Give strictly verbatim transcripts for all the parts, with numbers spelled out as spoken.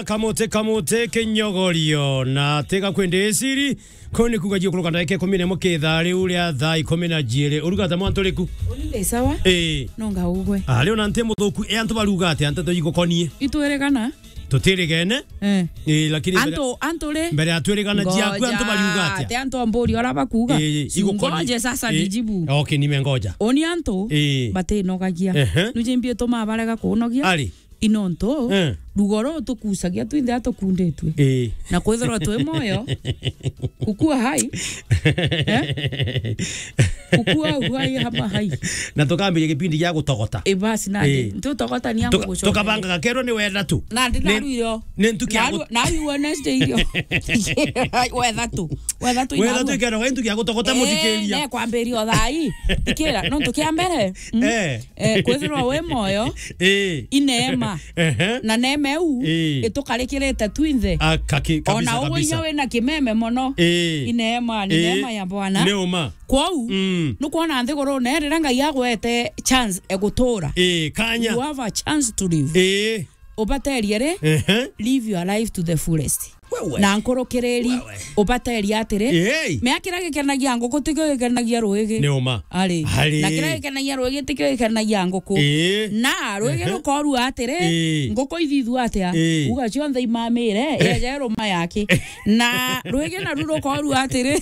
Kamote, kamote, kinyogorio, na tiga kwende siri, ko ni kuga jio kuruka ndagika ikumi na imwe kithaa riu ria thaa ikumi na jiiri. Urugata mwantu riku? Ni sawa? Ii. No ngaugwe. Ah, riu na nti muthuku, e antu baruga atia, nteto igukonie? Itwirigana? Tutirigene. Eh. Ii, lakini mbere, antu, antu ri? Mbere ya twirigana jiaku, antu baruga atia? Ngoja, ati antu amburi ora bakuga. Ii, igukonie. Ngoje sasa nijibu. Okay, nimengoja. Oni antu batinogagia. Ehe. Nujimbi tuma barega kunogia. Ari. Inontu, eh, rugoro tukucagia twinthe atukunditwe. Eh. Na kwithirwa twi moyo, kukua hai. Eh? Kukua uhai hama hai. Na tukambiria gipindi gia gutogota. Eh, basi, nandi. Eh. Nti utogota ni angu gucokeria. Tuka-, tukabangaga kerwo ni wetha tu. Nandi ni, naru irio. Ni ntuki ya naru, gut- naru Wednesday irio. Wetha tu. Wetha tu inaru. Wetha tu ikerwa ntuki ya gutogota, eh, muthikiria. Ne kwambiria o thaa ii. Thikira, nontu kia mbere. Mm. Eh. Eh, kwithirwa wi moyo, eh, ineema. Ehe. Na neema iu, eh, itukarikirite twinthe. A, kaki-, kabisa, ona uguo kabisa. Inya wina kimeme mono, eh, ineema, ni, eh, neema ya Bwana. Ni uma. Kwou, mm, nukwona nthigurune, riria Ngai agwete chance egutura, eh, kanya, you have a chance to live. Eh. Ubaterie ri, ehe, live your life to the fullest. Wewe. Na nkurukiriri, wewe, ubateria atiri, hey, mea kiria gikenagia nguku tikio gikenagia ruigi. Ni uma. Ari. Ari. Na kiria gikenagia ruigi tikio gikenagia nguku. Ii. Na ruigi, ehe, rukorua atiri, ii, nguku ithithua atia? Ii. Uga cionthe imamire, eh, yeje ruma yake. Na ruigi naru rukorua atiri,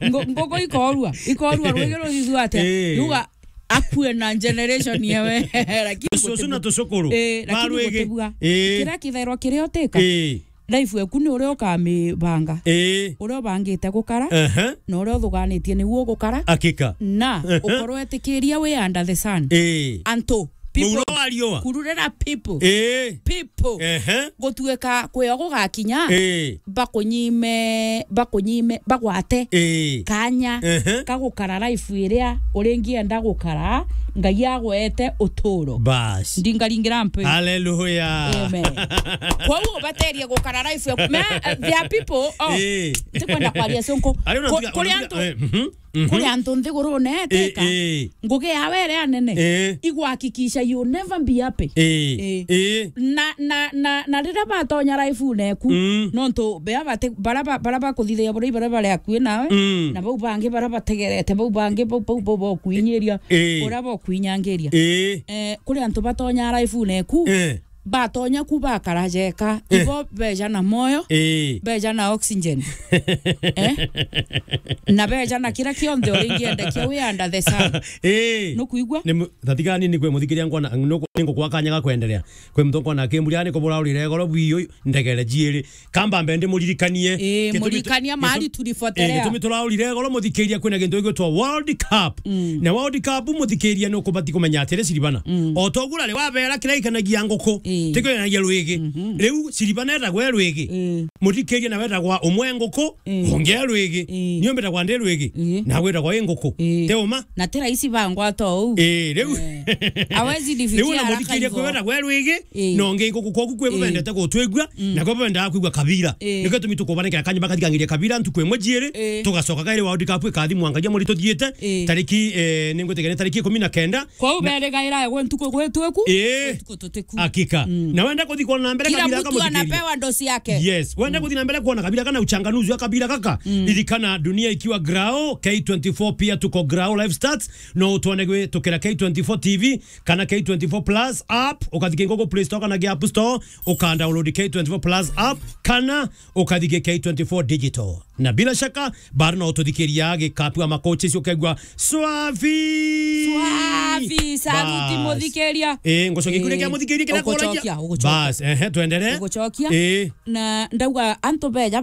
ngu-, nguku ikorua, ikorua ruigi ruthithua atia? Ii. Uga akue na generation yewe. Lakini tucucu na tucukuru. Eh, lakini ba ruigi. Gutibua. Eh. Kira kithairwa kiria utika. Eh. Life yaku ni uria ukamibanga. Eh. Uria ubangite gukara. Aha. Na uria uthuganitie niguo gukara. Hakika. Na, aha, ukorwo etikiria wi under the sun. Eh. Antu. People. Muuro wa riua. Kururira people. Eh. People. Ehe. Gutuika kwio gugakinya, eh, bakunyime, bakunyime, bagwate, eh, kanya, ehe, ka gukara life iria uringienda gukara, Ngai agwete uturo. Bas. Ndingaringira mpe. Hallelujah. Amen. Kwou ubaterie gukara life yaku. Me, uh, there are people, oh, eh, ntikwenda kwaria cunku. Ari ona ku-, ntuga-, kuri ona ntuga-, antu, eh, mhm. Mhm. Kuri antu nthigurune, eh, teka, eh, ngugi yawe iria nene, eh, igwahakikisha you never be happy. Eh, eh, eh. Na, na, na, na riria batonya life-une eku, mm, nontu bea bati-, bara ba-, bara bakuthithagia buria baria bari akui nawe, mm, na bau bangi bara bategerete, bau bangi bau, bau, bau bakuinyiria, eh, uria bakuinyangiria. Eh. Eh, kuri antu batonya life-une eku, eh, batonya ku bakara jeka, eh, ibo beja na moyo, eh, beja na oxygen. Eh? Na beja na kira kionthe uringiendekia wi under the sun. Eh. Nukwigua? Ni mu-, thatigani ni kwe muthikiria nkona, nuku-, ni ngukwa kanya ga kwendelea. Kwe muntu nkona akimburia ni kubura urire goro bwi ndegere jiiri. Kamba mbe ndimuririkanie. Eh, gitumi tu-, muririkania mahali gitumi, tulipotelea. Eh, gitumi turaurire goro muthikiria kwina gintu gigwitwa World Cup. Mm. Na World Cup muthikiria ni ukubati kumenya atiri Siribana. Mm. O toguo ri wabera kira ikanagia nguku, eh, tikio ikanagia rwigi. Mhm. Riu Siribana etagwa e rwigi. Eh. Muthikiria nawe etagwa umwe nguku, eh, ungi e rwigi. Eh. Niu mbitagwa ndi rwigi. Eh. Na gwitagwa i nguku. Eh. Ti uma? Na ti raisi bangwata uu. Eh, riu. Eh. Hawezi nifikia haraka hivyo. Riu na muthikiria kwi wetagwa e rwigi, eh, na ungi nguku kwogu kwi, eh, bubendete gutwigua, mm, na kwi bubendaga kwigua kabira. Eh. Nikio gitumi tukubanengera kanya bakathikangiria kabira ntuku imwe jiiri, eh, tugacoka kairi World Cup ikathimwa ngagia muri tuthiite, eh, tariki, eh, ningwitikia ni tariki ikumi na kenda. Kwou na berigaira gwe ntuku gwitwiku, eh, ntuku tutiku. Hakika. Mm. Na wenda kuthi kuona na mbere kila kabira mtu kamuthikiria. Anapewa dosi yake. Yes. Wenda, mm, kuthi na mbere kuona kabira kana uchanganuzi wa kabira gaka. Mm. Ririkana dunia ikiwa Grao, K twenty-four pia tuko Grao live stats. No utwone gwitukira K twenty-four T V kana K twenty-four Plus app, ukathike Google Play Store kana App Store, ukadownload K twenty-four Plus app, kana ukathike K twenty-four Digital. Na bila shaka, bado no ututhikiria gikapu ama coaches ukegwa swafi. Swafi, saluti. Bas. Muthikiria. Eh, ngucokia kuria kia, eh, muthikiria kira ugucokia, kuria. Ugucokia. Bas, ehe, tuendelee. Ugucokia. Eh. Na ndauga antu beja